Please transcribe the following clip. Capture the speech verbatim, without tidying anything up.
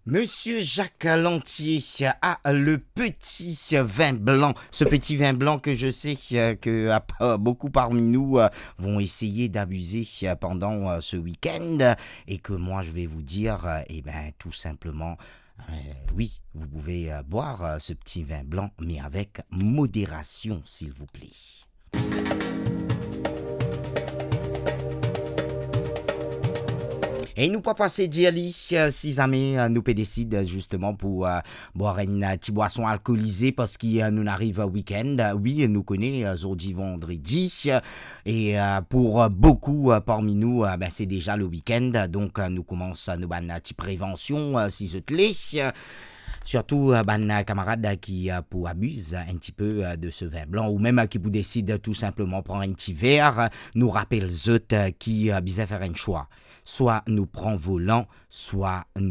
Monsieur Jacques Lantier a le petit vin blanc, ce petit vin blanc que je sais euh, que euh, beaucoup parmi nous euh, vont essayer d'abuser euh, pendant euh, ce week-end et que moi je vais vous dire, euh, eh ben, tout simplement, euh, oui, vous pouvez euh, boire euh, ce petit vin blanc, mais avec modération, s'il vous plaît. E nou pa pase dir li, euh, si zame euh, nou pe desid euh, zisteman pou euh, bwar enn euh, ti bwason alkolize, parski euh, nou ariv euh, week-end. Euh, wi, nou kone euh, zordi vandredi. Euh, e euh, pou euh, boukou euh, parmi nou, euh, ben, se deza le week-end. Donk euh, nou koumans euh, nou bann euh, ti prevansion, euh, si zot le. Euh, sirtou euh, bann euh, kamarad euh, ki euh, pou abiz euh, enn ti pe euh, de se vin blan, ou mem euh, ki pou desid euh, tou sinpleman pran enn ti ver, euh, nou rapel zot euh, ki euh, bizin fer enn swa. Swa nou pran volan, swa